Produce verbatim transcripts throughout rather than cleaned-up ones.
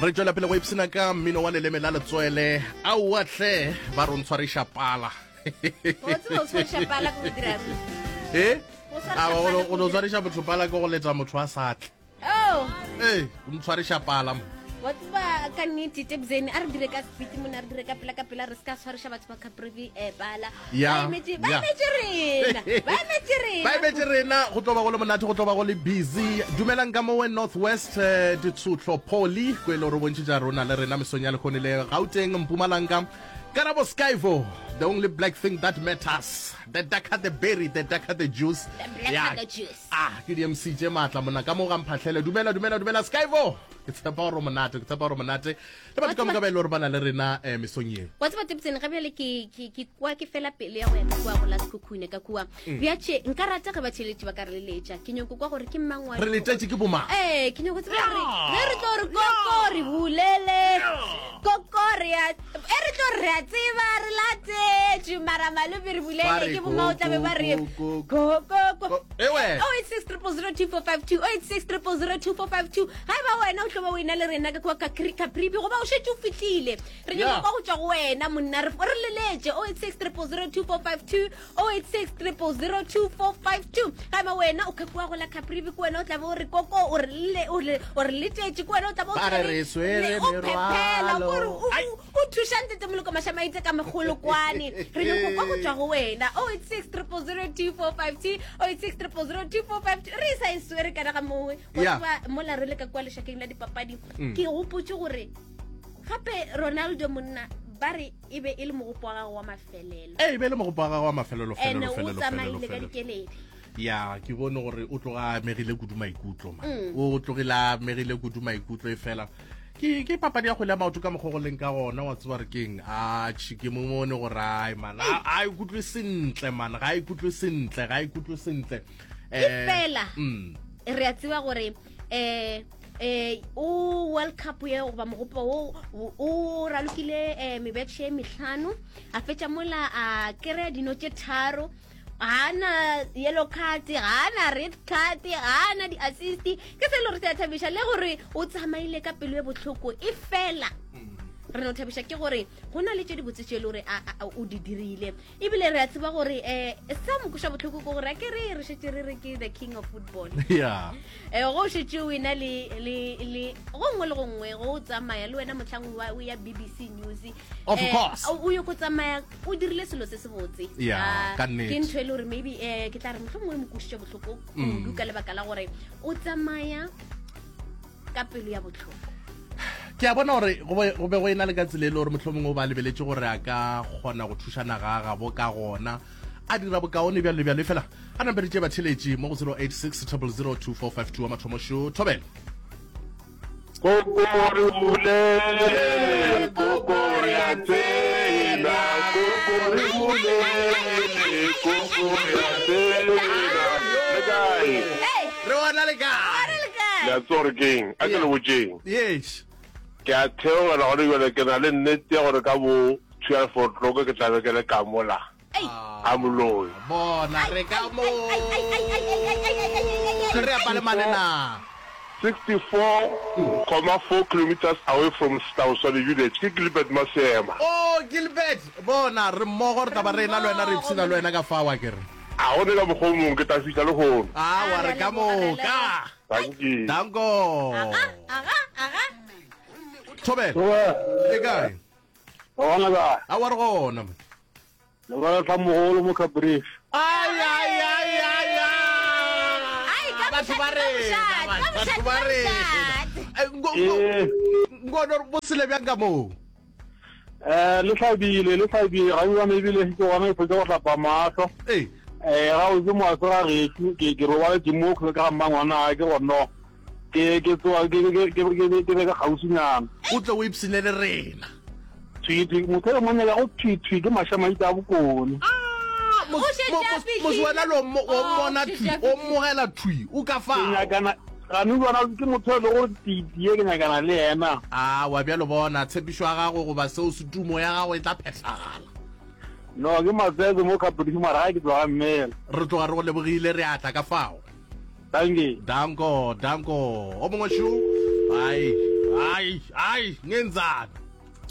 Re tšwela pele go ipshina ka mmino wa leleme la letswele. Aowa hle, ba re o ntshwariša pala. O tseba o tshwariša pala ke go dirang? Eh? Go tshwariša A, pala go ke go no tshwariša motho pala ke go letsa motho a sa tle. Oh, Ee, o ntshwariša pala mo. wa tseba ka nnete Tebzeni, a re dire ka speed mona, a re dire ka pela ka pela, re se ka tshwariša batho ba Caprivi eh, pala. Ya, Ba emetše ba ya. emetše rena. Ba emetše rena. Ba emetše rena, go tlo ba go le monate, go tlo ba go le busy. Dumelang ka mowe North West, eh, Ditshotlo Poly, ko e le gore o bontšhitša rona le rena mesong ya lehono le Gauteng, Mpumalanga. Karabo Skyvo, the only black thing that matters. The darker the berry, the darker the juice. The blacker Ya. the juice. Ah, ke di-M C tše maatla mona ka mo ga Mphahlele. Dumela, dumela, dumela Skyvo. Ke tshepa gore o monate, ke tshepa gore o monate. Le batho ka moka ba e le gore ba na le rena, eh, mesong ye. Wa tseba Tebzeni, ga bjale ke, ke, ke kwa ke fela pelo ya go ya ka kua go la Sekhukhune ka kua. Mm. Bjatše, nka rata ge batheeletši ba ka re leletša. Ke nyoko kwa gore ke mang wa Re letetše ke bomang? Eh, ke nyoko tseba gore Yeah. ge re tlo re koko re bulele. Yeah. Koko re a, e re tlo re a tseba re latetše, mara malome re bulele, Ba re ke bomang o tla be ba re ko, ko, ko, ko, ko. Ko, ewe. Oh eight six triple zero two four five two, oh eight six triple zero two four five two. Ga e ba wena o tlo ba o ena le rena ka kua Capri-, Caprivi, goba o šetše o fihlile. Re nyaka Yeah. kwa go tšwa go wena monna, re, re leletše oh eight six triple zero two four five two, oh eight six triple zero two four five two. Ga e ba wena o ka kua go la Caprivi, ke wena o tla be o re koko, o re le, o re, o re letetše, ke wena o tla be o Ba re tshwere re swere le- o phephela, merwalo. o re o- Ai. o, o thuša ntate Moloko Mašamaite ka megolokwane. Re nyaka kwa go tšwa go wena oh eight six triple zero two four five two, oh eight six triple zero two four five two. Re sa e swere kana ga mongwe. Wa Yeah. tseba mola re le ka kua lešakeng la dipapadi, Mm. ke gopotše gore gape Ronaldo monna ba re e be e le mogopo wa gagwe wa mafelelo. Eh, e be e le mogopo wa gagwe wa mafelelo, Ene felelo, o felelo, tsamaile felelo, ka felelo. dikeledi. Ya, ke bone gore o tloga a amegile kudu maikutlo, man. Mm. O tlogile a amegile kudu maikutlo e fela. Ke, ke papadi ya kgwele ya maoto ka mokgwa go leng ka gona, wa tseba re keng? A, tjhe, ke mo mone gore ai, man, a, a ikutlwe sentle, man, ga a ikutlwe sentle, ga a ikutlwe sentle. E Eh, fela, mm. re a tseba gore, eh, eh, o World Cup ye goba mogopo wo, o, o ralokile, eh, mebetšhe e mehlano, a fetša mola a kry-a dino tše tharo, ga na yellow card, ga na red card, ga na di-assist. Ke se e le gore se a thabiša le gore o tsamaile ka pelo e bohloko, e fela re no thabiša ke gore go na le tše dibotse tše e le gore a, a, a, o di dirile. Ebile re a tseba gore, eh, sa mo kweša bohloko ke gore a ke re re šetše re re ke the king of football. Yeah. Eh, go šetše o ena le, le, le, go nngwe le go nngwe, go o tsamaya le wena mohlang wa, o ya B B C News. Of Eh, course. o, o ye go tsamaya o dirile selo se se botse. Yeah, Ah, ka nnete. Ke ntho e le gore maybe, eh, ke tla re mohlomongwe e mo kwešitše bohloko Mm. kudu ka lebaka la gore o tsamaya ka pelo ya bohloko. Ke a bona gore go be, go be go ena le ka tsela e le gore mohlomongwe o ba lebeletše gore a ka kgona go thuša naga ya gabo ka gona, a dira bokaone bjalo le bjalo. Fela a namperetše batheletši mo go zero eight six triple zero two four five two wa mathomo šo Thobela. Koko re bulele, koko re a tseba, koko re bulele, koko re a tseba. Le kae? Hey! Re bona le kae? Re le kae? Le a tseba gore keng? A ke le botšeng. Yes. Ke a theogela gone jwale, ke na le nnete ya gore ka bo twelve o'clock ke tla be ke le ka mola. Ei. A moloi. Bona re ka mo. Ai, ai, ai, ai, ai, ai, ai, ai, ai, ai, ai, Re apale manena. sixty-four comma four kilometers away from Stauswane village. Ke Gilbert Masema. Oh, Gilbert, bona re mmogo re tla ba re ena le wena, re ipshina le wena ka fao a ke re. A gone ka mokgwa o mongwe ke tla fihla le hono. Ah, wa re ka moka. Thank you. Danko. Aga, aga, aga. Thobela. Thobela. E kae? Gona kae? A wa re gona. Le ba tla mogolo mo Caprivi. Ai, ai, ai, ai, ai. Ai, ka Batho ba mošate, ka rena, mošate, ka batho mošate, ba ka rena. mošate. Eh, ngo-, ngo-, Eh. ngono bo sele bjang ka moo? Eh, le hlabile, le hlabile, ga bjana ebile ke gona e fetsa go hlapa mahlo. Eh. Eh, ga o ke moaso ga gešo, ke, ke robaletše mo ka ga mmangwana, ke gore no. Ke, ke tsoa, ke, ke, ke, ke, ke, ke be ka kgauswinyana. O tle o ipshine le rena. Thwi, thwi, motho e mongwe ya go thwi, thwi, ke mašamaite a bokone. Ah, mos-, O šetše mo-, a mos-, fihlile. mos wena lo mo-, o Oh, mmona o šetše thwi, a o fihlile. mmogela thwi, o ka fao. Ke nyakana, gane bona ke motho e le gore titie, ke nyakana le yena. Ah, wa bjalo bona, tshepišo ya gago goba seo se tumo ya gago e tla phethagala. No, ke matsetse mo Caprivi, mara ga ke tloga mmele. Re tloga re go lebogile, re atla ka fao. Thank you. Danko, danko. O mongwe šo? Ai, Ai, ai, ngenzani?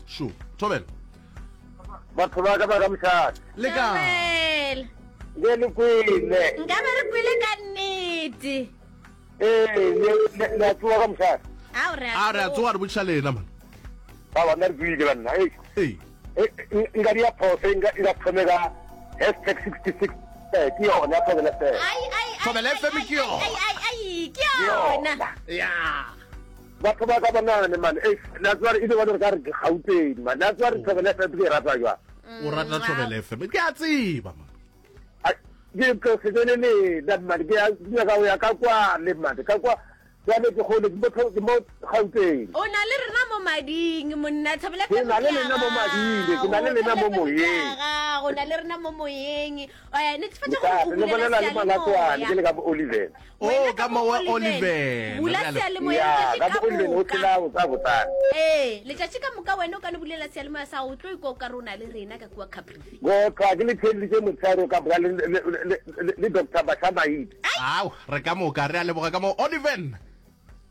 Shu, thobela. Batho ba ka ba ka mošate. Le ka. Thobela. Ke le kwele. Nka be re kwele ka nnete. Ee, le le- le a tsoga ka mošate. Ao re A re a tsoga re botšiša lena man. Ba ba nna re tsoile banna. Ei. Ee. Eh, eh, nka dia phoso nka nka thome ka hashtag sixty six eh, ke yona Thobela F M. Ai ai ai. Thobela ai, F M ai, ke yona. Ai ai ai ke yona. Ya. Batho ba ka bonane man. Ei, la tswa re ile ba re ka re ke Gauteng man. La tswa re Thobela F M ke e rata jwang. O rata Thobela F M. Ke a tseba man. Ai, ke tlo se tsene le nna man ke a ke nyaka go ya ka kwa le man ka kwa jwale ke gole ke mo ke mo Gauteng. O na le rena mo mading monna Thobela Ke F M na le ke ya lena mo mading, ke na le gago. lena mo Thobela F M ke ya moyeng. gago, o na le rena mo moyeng. Eh, netefatša gore o Le bulela bolela le Malatoane ke le seyalemoya. ka bo Oliven. O Wena ka mo wa Oliven. Bula Re a le- seyalemoya Ya, letšatši ka ka bo Oliven o moka. phela botsa botsana. Ee, letšatši ka moka wena o ka no bulela seyalemoya sa gago, o tlo ikwa o ka re o na le rena ka kua Caprivi. Go tla ke le theeleditše motshehare ka moka le le le le- le Doctor Basha Maite. Ao, re ka moka re a leboga ka mo Oliven.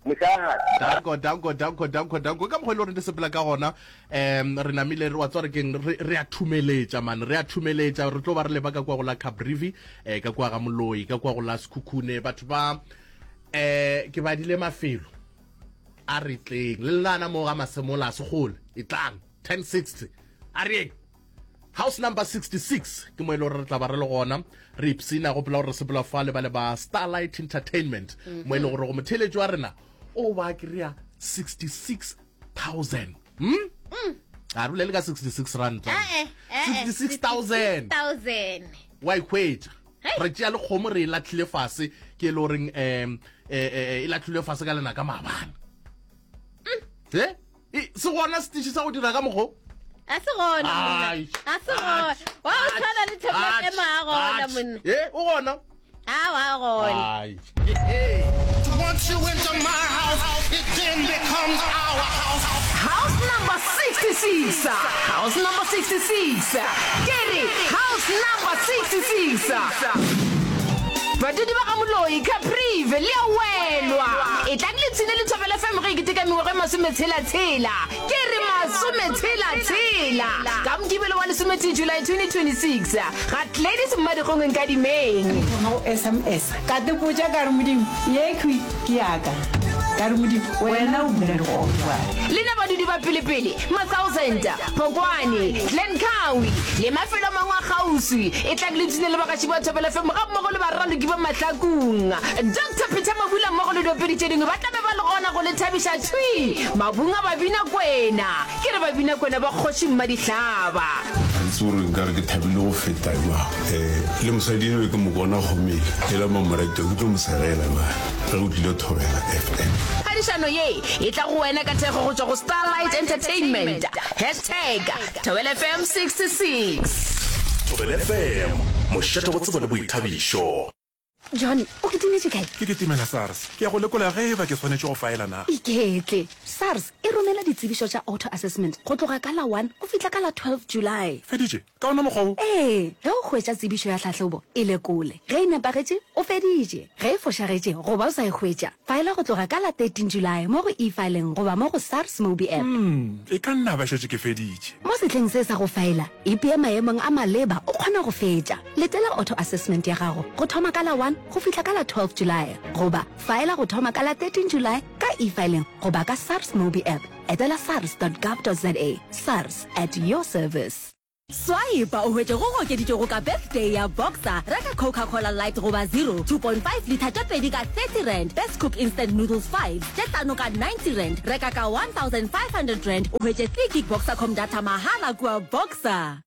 Mošate. Danko, danko, danko, danko, danko. Ka mokgwa e le gore di sepela ka gona, um re namile re wa tswa re keng re re a thumeletša man, re a thumeletša re tlo ba re leba ka kwa go la Caprivi, eh ka kwa ga Moloi, ka kwa go la Sekhukhune, batho ba eh ke badile mafelo a re tleng le lena mo ga Masemola a segole e tlang ten sixty a re yeng house number sixty-six ke mo e le gore re tla ba re le gona re ipsina go pela gore re sepela fa le ba le ba Starlight Entertainment mo e le gore go motheletši wa rena o ba kry-a sixty-six thousand hmm? A re bolele ka sixty-six rand Eh, eh, eh, sixty-six thousand thousand. wa ikhwetša Hei. re tšea le kgomo re e latlhile fase ke e le goreng um e latlhile fase ka lena ka maabane e E, se gona setiši sa go dira ka mokgo A se gona monna. Ai. A se gona. Wa o tshwana le Thobela F M a gona monna. e o gona A wa gona. Ai. Once you enter my house, it then becomes our house. House number sixty-six. House number sixty-six. Ke re house number sixty-six. Badudi ba ga Moloi Caprivi le a welwa. E tlang le tshine le Thobela F M ge e keteka mengwaga e masometshela-tshela. Ke re masometshela-tshela. Ka Mokibelo wa lesometee July twenty twenty-six ga Gladys Mmadikgong Nkadimeng. Go S M S ka te potša ka re Modimo ye khwi ke yaka ka re Modimo wena o bula le go Lena badudi ba pelepele Ma-Thousand, Phokwane, Glencoe le mafelo a mangwe a kgauswi e tlang le tshine le bagaši ba Thobela F M ga mmogo le baraloki ba Mahlakong. Doctor Peter Mabula mmogo le diopedi tše dingwe ba tla be ba le gona go le thabiša thwi mabung a babina kwena. Ke re babina kwena ba kgoši Mmadihlaba. Ga ke tsebe gore nkare ke thabile go feta jwang. Eh, le mosadi eno ke mo bona gomele e la mamorato ke tlo mo segela jwale ge o tlile Thobela F M. Phadišano ye e tla go wena ka thekgo go tšwa go Starlight Entertainment. Hashtag Thobela F M sixty-six. Thobela F M, mošate wa tsebo le boithabišo. John, o ketimetše kae? Ke ketimela SARS. Ke ya go lekola ge e ba ke swanetše go faela na. Iketle. SARS e romela ditsebišo tša auto assessment go tloga ka la one go fihla ka la twelve July. Feditše? Ka ona mokgwa wo? Ee, ge o hwetša tsebišo ya tlhahlobo, e lekole. Ge e nepagetše, o feditše. Ge e fošagetše goba o sa e hwetša, faela go tloga ka la thirteen July mo go e-filing goba mo go SARS Mobi app. Hmm, e ka nna ba šetše ke feditše. Mo sehleng se sa go faela, ipee maemong a maleba o kgona go fetša. Letela auto assessment ya gago go thoma ka la one go fihla ka la twelve July goba faela go thoma ka la thirteen July ka e-filing goba ka SARS Mobi app. Etela sars dot gov dot za. SARS at your service. Swipe o hwetše go okeditšwego ka birthday ya Boxer. Reka Coca-Cola Light goba zero, two point five liter tše pedi ka thirty rand. Best Cook Instant Noodles five tše hlano ka ninety rand. Reka ka one thousand five hundred rand o hwetše three gig Boxercom data mahala kua Boxer.